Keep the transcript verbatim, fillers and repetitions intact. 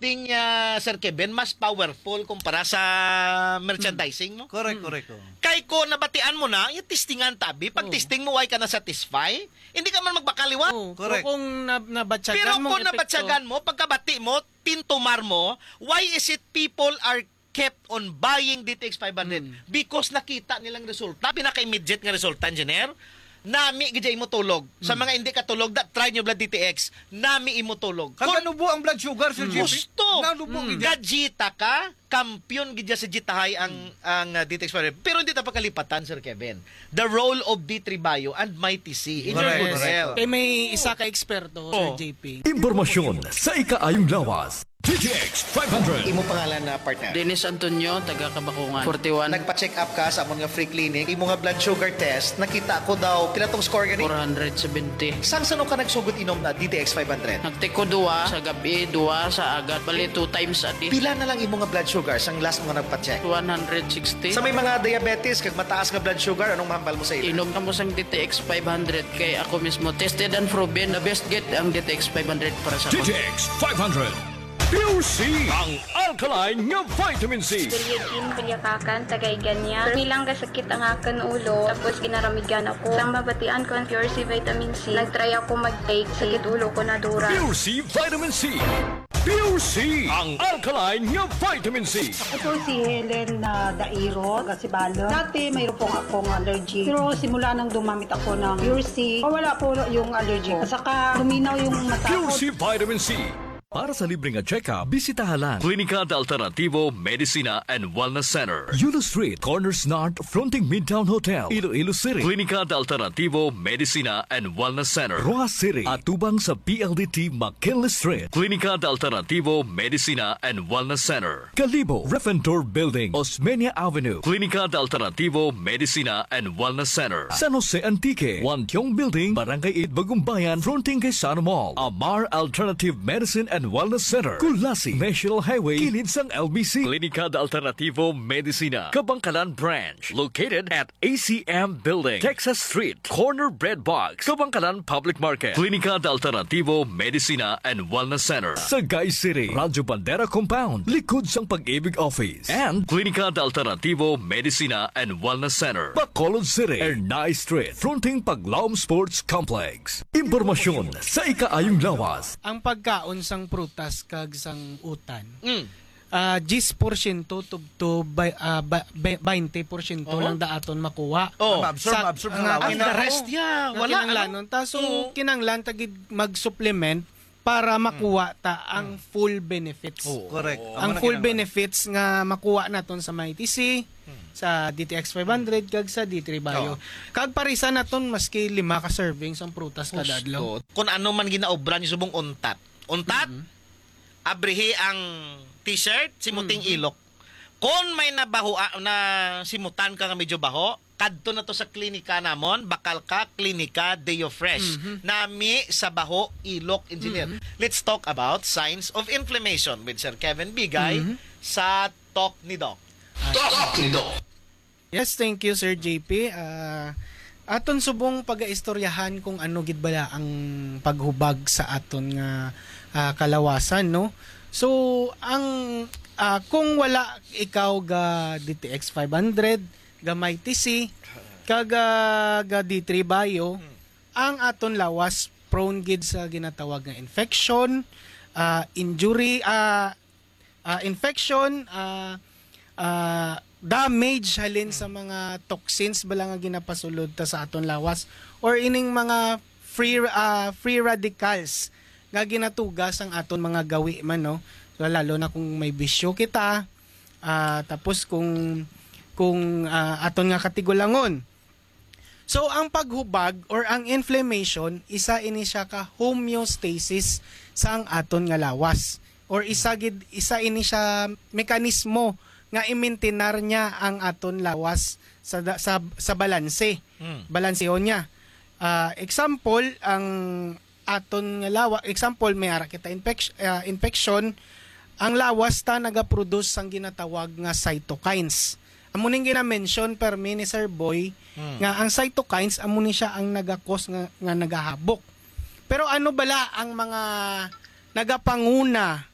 testing, ah, Sir Kevin, mas powerful kumpara sa merchandising, no? Correct, correct. Oh. Kay ko nabatian mo na, yung testingan tabi, pag Oo. testing mo, why ka na satisfy? Hindi ka man magbakaliwa. Oo, Correct. Kung na, nabatyagan Pero mong kung epekto, nabatyagan mo, pagkabati mo, tintumar mo, why is it people are kept on buying D T X five hundred? Mm. Because nakita nilang resulta, pinaka-immediate nga resulta, engineer, nami gid imo tulog. Sa mga hindi katulog, that try nyo blood D T X, nami imo tulog. Kaganubo ang blood sugar, Sir Jeffrey. Gusto. Nanubo gid. Gajita ka, kampiyon gid sa jitahay ang ang uh, D T X five hundred. Pero hindi ta pagkalipatan, Sir Kevin. The role of D three Bio and Mighty C in your Correct, good correct. health. Kay may isa ka eksperto, Oh. Sir J P. Impormasyon sa ikaayong lawas. D T X five hundred. Imo pangalan na partner? Dennis Antonio, taga Kabakungan. forty-one. Nagpa-check up ka sa amon nga free clinic. Imo nga blood sugar test, nakita ko daw, pila tong score gani? four hundred seventy. Sang sano ka nagsugod inom na D T X five hundred? Nagtiko duwa sa gabi, duwa sa agad. Bali, two times a day. Pila na lang imo nga blood sugar sang last mo nga nagpa-check? one hundred sixty. Sa may mga diabetes kag mataas nga blood sugar, anong mahambal mo sa ila? Inom kamo sang D T X five hundred kay ako mismo tested and proven na best gid ang D T X five hundred para sa D T X five hundred. Pure C, ang alkaline nga vitamin C. Julietine Culiacacan, taga Igania. Permi lang kasakit ang akon ulo, tapos ginaramigan ako. Sang mabatian ko ang Pure C Vitamin C, nagtry ako mag-take. Sakit ulo ko nadura. Pure C Vitamin C. Pure C, ang alkaline nga vitamin C. Ako po si Helen na Dairo, taga Sibalom. Dati mayroon po akong allergy. Pero simula nang dumamit ako ng Pure C, wala po yung allergy ko. At saka luminaw yung mata ko. Pure C Vitamin C. Para sa libre nga check-up, bisitaha lang Klinika de Alternativo Medicina and Wellness Center, Yulo Street, Corners North, fronting Midtown Hotel, Iloilo City. Klinika de Alternativo Medicina and Wellness Center, Roxas City, atubang sa P L D T McKinley Street. Klinika de Alternativo Medicina and Wellness Center, Kalibo, Refentor Building, Osmeña Avenue. Klinika de Alternativo Medicina and Wellness Center, San Jose Antique, Wantiong Building, Barangay eight, Bagumbayan, fronting kay Sano Mall. Amar Alternative Medicine and Wellness Center, Culasi, National Highway, kilid sang L B C. Klinika de Alternativo Medicina, Kabangkalan Branch, located at A C M Building, Texas Street, corner Bread Box, Kabangkalan Public Market. Klinika de Alternativo Medicina and Wellness Center, Sagay City, Radyo Bandera Compound, likod sang Pag-ibig Office. And Klinika de Alternativo Medicina and Wellness Center, Bacolod City, Ernai Street, fronting Paglaom Sports Complex. Impormasyon sa ikaayong lawas. Ang pagkaon sang prutas kag sang utan, Mm. ah, diyes porsyento tubtob, bay- ah, ba- be- baynte porsyento Oo. lang daaton makuha. Oh. Maabsorb, Sa- maabsorb sa nga- lawas. And the rest, yeah, Nga wala. kinanglanon. Ta, so, Oo. kinanglan ta gid mag-supplement para makuha ta ang full benefits. Oo. Correct. Ang Amo na full kinanglan. benefits nga makuha naton sa Mighty C, sa D T X five hundred, kag sa D three Bio. Oo. Kag parisan naton maski lima ka servings ang prutas kada adlaw. Gusto. Kung ano man ginaobra ni subong untat. Untat, abrihi ang t-shirt, simuting ilok. Kung may nabaho na simutan ka nga medyo baho, kadto na to sa klinika namon, bakal ka, Klinika Deo Fresh. Nami sa baho, ilok, engineer. Let's talk about signs of inflammation with Sir Kevin Bigay sa Talk ni Doc. Talk ni Doc. Yes, thank you, Sir J P. Ah, aton subong pagaistoryahan kung ano gid bala ang paghubag sa aton nga, ah, kalawasan, no? So, ang, ah, kung wala ikaw ga D T X five hundred, ga Mighty C, kag, ah, ga D three Bio, ang aton lawas prone gid sa ginatawag nga infection, ah, injury, ah, ah, infection, ah, ah, damage halin sa mga toxins bala nga ginapasulod ta sa aton lawas, or ining mga free, ah, free radicals nga ginatuga sang aton mga gawi man, no? So, lalo na kung may bisyo kita, ah, tapos kung kung ah, aton nga katigulangon. So, ang paghubag or ang inflammation, isa ini siya ka homeostasis sang aton nga lawas, or isa gid, isa ini siya mekanismo nga imintinar niya ang aton lawas sa da- sa, sa balanse. Mm. Balansehon niya. Ah, example, ang aton nga lawas, example, may ara kita infection, ah, infection, ang lawas ta nagaproduce sang ginatawag nga cytokines. Amo ning gina-mention permi ni Sir Boy, nga ang cytokines amo ni siya ang nagakos nga, nga nagahabok. Pero ano bala ang mga nagapanguna